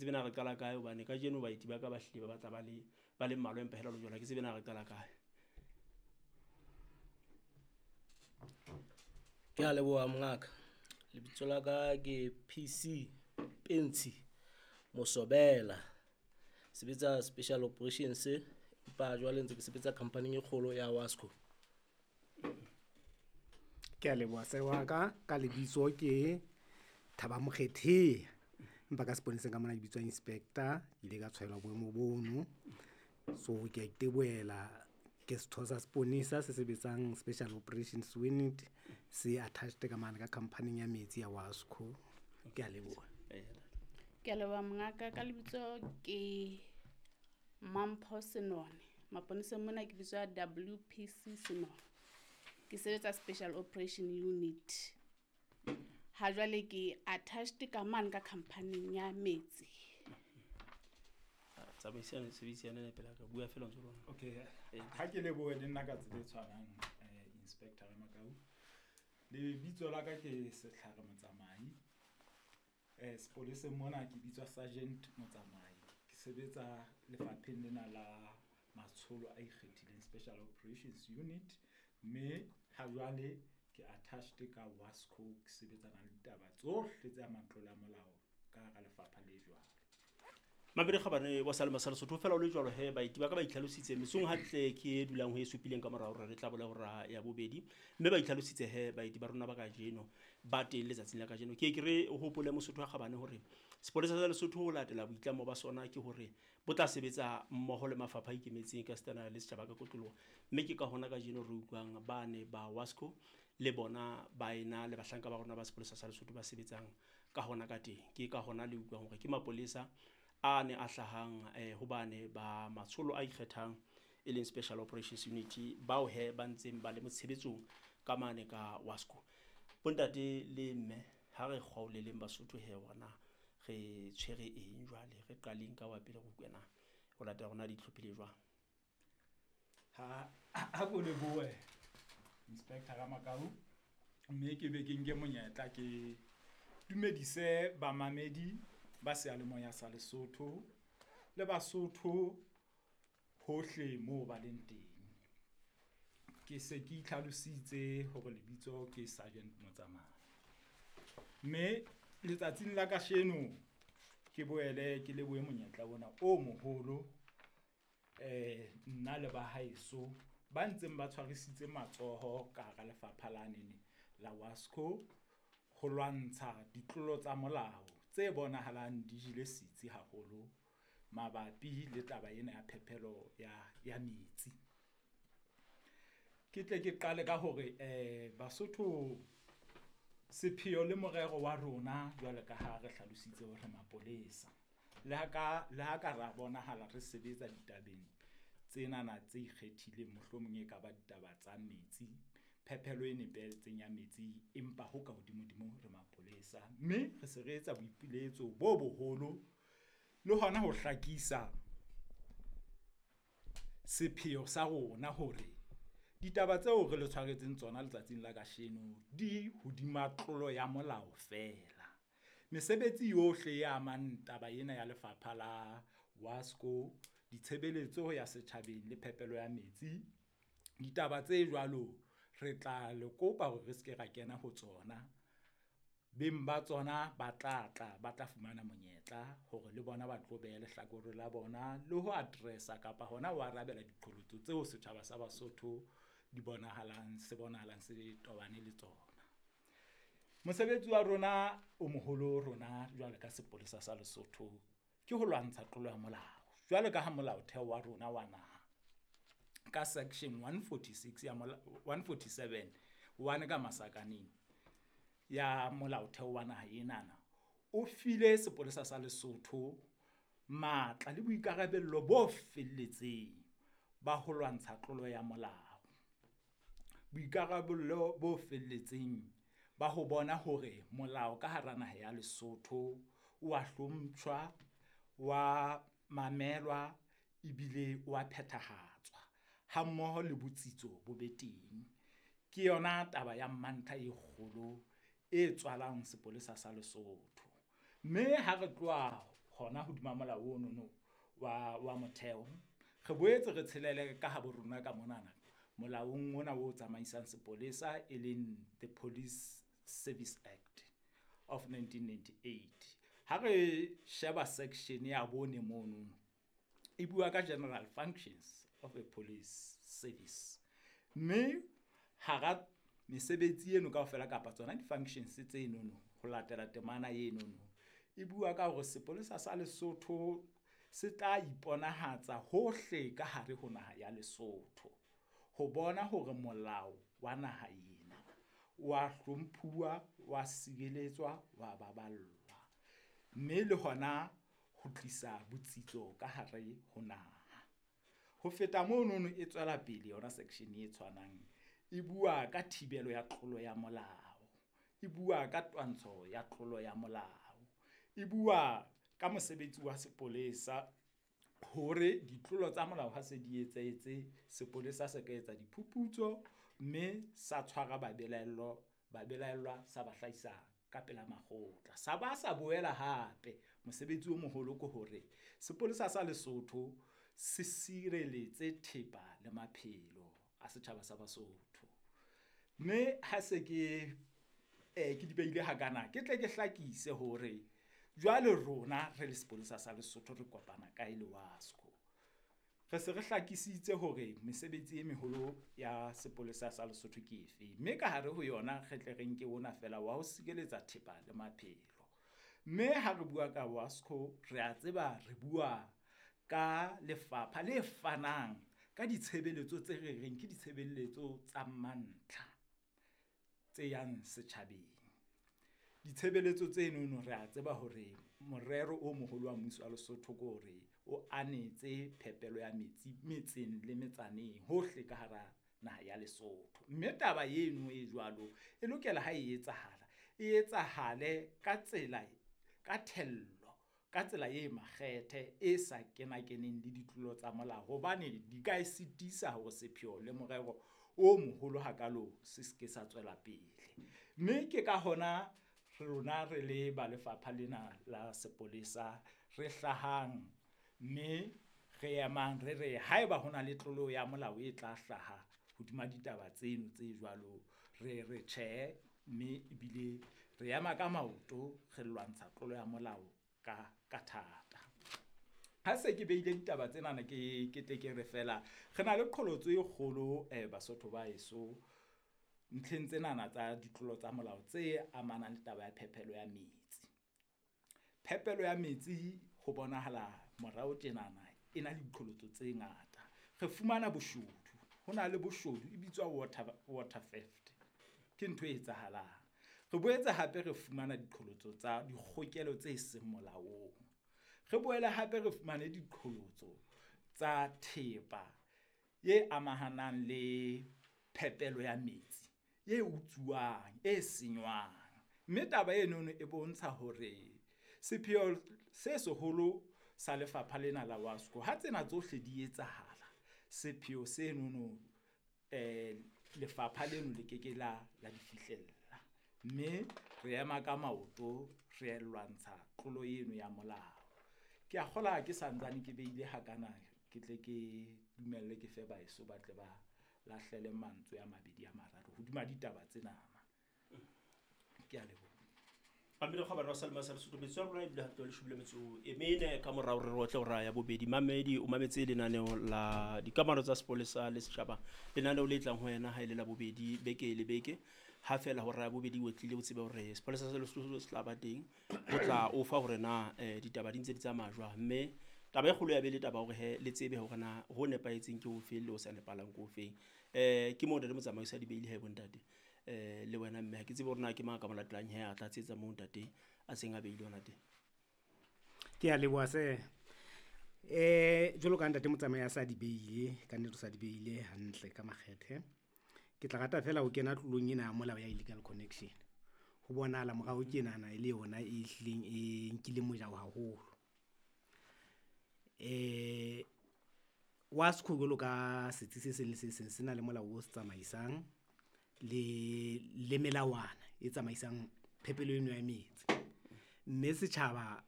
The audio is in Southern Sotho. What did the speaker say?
tsebe na re qala kae hobane kajeno baeti ba ka ba hlile ba batla ba le mmalwa, empa hela jwale ha ke tsebe na re qala kae. Ke a leboha mongaka. Lebitso la ka ke PC Pentsi Mosobela. Sebetsa Special Operations empa jwale ntse ke sebetsa company e kgolo ya Wasco. Ke a leboha se wa ka ka lebitso ke Thaba Mokgethea. Empa ka seponeseng ka mona ke bitswa inspector, ke ile ka tshwaelwa boemo bono. So ke a itebohela ke setho sa seponesa se sebetsang Special Operations Unit se attached ka mane ka company ya metsi ya Wasco. Ke a leboha. Ke a leboha mongaka ka lebitso ke Mampho Senone. Maponeseng mona ke bitswa WPC Senone. Ke sebetsa Special Operation Unit. Ha jwale ke attached ka mane ka company ya metsi. Tsamaisane, sebedisane le pela ka bua fela ntse lona. Okay. Ha ke lebohe le nna ka tsela e tshwanang, Inspector Ramakau. Lebitso la ka ke Setlhare Motsamai. Sepoleseng mona ke bitswa Sergeant Motsamai. Ke sebetsa lefapheng lena la matsholo a ikgethileng Special Operations Unit, mme ha jwale ke attached ka Wasco, ke sebetsana le ditaba tsohle tse amang tlolo ya molao ka hara lefapha le jwalo. Mabedi kgabane wa Salema sa Lesotho fela o le jwalo he baeti ba ka ba itlhalositse mesong hantle ke e dulang ho e supileng ka morao hore re tla bola hora ya bobedi, mme ba itlhalositse he baeti ba rona ba kajeno ba teng letsatsing la kajeno. Ke ke re hopole Mosotho wa kgabane hore sepolesa sa Lesotho ho latela boitlamo ba sona ke hore bo tla sebetsa mmoho le mafapha a ikemetseng ka setana le setjhaba ka kotloloho, mme ke ka hona kajeno re utlwang ba ne ba Wasco le bona ba ena le bahlanka ba rona ba sepolesa sa Lesotho ba sebetsang ka hona ka teng. Ke ka hona le utlwang hore ke mapolesa a ne a hlahang hobane ba matsholo a ikgethang e leng Special Operations Unit bao he ba ntseng ba le motshebetsong ka mane ka Wasco. Bontate le mme ha re kgaoleleng Basotho he ona re tshwere eng jwale, re qaleng ka wa pele go utlwe na ho latela rona di itlhophile jwang. Ha ko lebohe Inspector Ramakau, mme ke be ke nke monyetla ke dumedise bamamedi ba seyalemoya sa Lesotho le Basotho hohle moo ba leng teng. Ke se ke itlhalositse hore lebitso ke Sergeant Motsamai, mme letsatsing la kasheno ke boele ke lebohe monyetla ona o moholo, nna le ba haeso ba ntseng ba tshwarisitse matsoho ka hara lefapha la nene la Wasco ho lwantsha ditlolo tsa molao tse bonahalang di jele setsi haholo mabapi le taba ena ya phepelo ya metsi. Ke tle ke qale ka hore Basotho sepheo le morero wa rona jwale ka ha re hlalositse hore mapolesa le ha ka ra bonahala re sebetsa ditabeng tsenana tse ikgethileng, mohlomong e ka ba ditaba tsa metsi, phepelo e nepahetseng ya metsi, empa ho ka hodimodimo re mapolesa, mme re se re etsa boipiletso bo boholo le hona ho hlakisa sepheo sa rona hore ditaba tseo re le tshwaretseng tsona letsatsing la kasheno di hodima tlolo ya molao feela. Mesebetsi yohle e amang taba ena ya lefapha la Wasco, ditshebeletso ya setjhabeng le phepelo ya metsi, ditaba tse jwalo re tla le kopa hore re ske ra kena ho tsona. Beng ba tsona ba tla tla ba tla fumana monyetla hore le bona ba tlo beha lehlakore la bona le ho address-a kapa hona ho arabela diqholotso tseo setjhaba sa Basotho di bonahalang se bonahalang se tobane le tsona. Mosebetsi wa rona o moholo rona jwale ka sepolesa sa Lesotho ke ho lwantsha tlolo ya molao. Jwale ka ha molaotheo wa rona wa naha ka section 146 ya 147 one ka masakaneng ya molaotheo wa naha enana o file sepolesa sa Lesotho matla le boikarabello bo felletseng ba ho lwantsha tlolo ya molao. Boikarabello bo felletseng ba ho bona hore molao ka hara naha ya Lesotho o a hlompshwa, wa mamelwa ebile wa phethahatswa ha mmoho le botsitso bo be teng. Ke yona taba ya mantlha e kgolo e tswalang sepolesa sa Lesotho. Mme ha re tloha hona hodima molao ono wa motheo. Re boetse re tshelele ka habo rona ka monana molaong ona o tsamaisang sepolesa, e leng the Police Service Act of 1998. Ha re sheba section ya 4 mono, e bua ka general functions of a police service. Mme hara mesebetsi eno kaofela kapa tsona di-functions tsenono ho latela temana enono, e bua ka hore sepolesa sa Lesotho se tla iponahatsa hohle ka hare ho naha ya Lesotho ho bona hore molao wa naha ena wa hlomphuwa, wa sireletswa, wa baballwa, mme le hona ho tlisa botsitso ka hare ho naha. Ho feta monono e tswela pele yona section e tshwanang, e bua ka thibelo ya tlolo ya molao, e bua ka twantsho ya tlolo ya molao, e bua ka mosebetsi wa sepolesa hore ditlolo tsa molao ha se di etsahetse, sepolesa se ka etsa diphuputso mme sa tshwara babelaellwa sa ba hlahisa ka pela makgotla. Sa ba sa boela hape mosebetsi o moholo ke hore sepolesa sa Lesotho se sireletse thepa le maphelo a setjhaba sa Basotho. Mme ha se ke di beile hakana, ke tle ke hlakise hore jwale rona re le sepolesa sa Lesotho re kopana kae le WASCO. Re se re hlakisitse hore mesebetsi e meholo ya sepolesa sa Lesotho ke efe, mme ka hare ho yona re tle re nke ona fela wa ho sireletsa thepa le maphelo. Mme ha re bua ka WASCO, re a tseba re bua ka lefapha le fanang ka ditshebeletso tse re reng ke ditshebeletso tsa mantlha tse yang setjhabeng. Ditshebeletso tsenono re a tseba hore morero o moholo wa mmuso wa Lesotho ke hore o anetse phepelo ya metsi metseng le metsaneng hohle ka hara naha ya Lesotho. Mme taba eno e jwalo e lokela ha e etsahala, e etsahale ka tsela, ka thello, ka tsela e makgethe, e sa kenakeneng le ditlolo tsa molao, hobane di ka e sitisa hore sepheo le morero o moholo hakalo se se ke sa tswela pele. Mme ke ka hona rona re le ba lefapha lena la sepolesa re hlahang mme re emang re re haeba hona le tlolo ya molao e tla hlaha hodima ditaba tseno tse jwalo, re re tjhe, mme ebile re ema ka maoto re lwantsha tlolo ya molao ka thata. Ha se ke beile ditaba tsenana ke tle ke re fela re na le qholotso e kgolo Basotho ba heso ntlheng tsenana tsa ditlolo tsa molao tse amanang le taba ya phepelo ya metsi. Phepelo ya metsi ho bonahala morao tjenana e na le diqholotso tse ngata. Re fumana boshodu, ho na le boshodu e bitswa water theft, ke ntho e etsahalang. Re boetse hape re fumana diqholotso tsa dikgokelo tse seng molaong. Re boele hape re fumane diqholotso tsa thepa e amahanang le phepelo ya metsi e utsuwang, e senywang. Mme taba enono e bontsha hore sepheo se seholo sa lefapha lena la WASCO, ha tsena tsohle di etsahala, sepheo senono lefapha leno le keke la di fihlella. Mme re ema ka maoto re lwantsha tlolo eno ya molao. Ke a kgola ke santsane ke beile hakana, ke tle ke dumelle ke fe baeso ba tle ba lahlele mantswe a mabedi a mararo hodima ditaba tsenana. Ke a leboha. Pamela kgabane wa Salma sa Lesotho, metso ya rona ebile hantle le shobile metso e mene ka morao re rotle hora ya bobedi. Mamedi o mametse lenaneo la dikamano tsa sepolesa le setjhaba, lenaneo le tlang ho yena ha e le la bobedi beke le beke. Ha fela hora ya bobedi o tlile o tsebe hore sepolesa sa Lesotho se tla ba teng ho tla o fa hore na ditaba di ntse di tsamaya jwang. Mme taba e kgolo ya be le taba hore he le tsebe hore na ho nepahetseng ke ofe le ho sa nepahalang ke ofeng. Ke moo ntate motsamaisi a di beile he bontate. Le wena mme ha ke tsebe hore na ke mang ka mo latelang he a tla tsetsa moo ntate a seng a beile hona teng. Ke a leboha se. Jwalo ka ntate motsamai a sa di beile, ka nnete o sa di beile hantle ka makgethe. Ke tla rata fela ho kena tlolong ena ya molao ya illegal connection. Ho bonahala morao tjenana e le yona e hlileng e nkileng mojao haholo. WASCO jwalo ka setsi se seng le se seng se na le molao o se tsamaisang le melawana e tsamaisang phepelo eno ya metsi. Mme setjhaba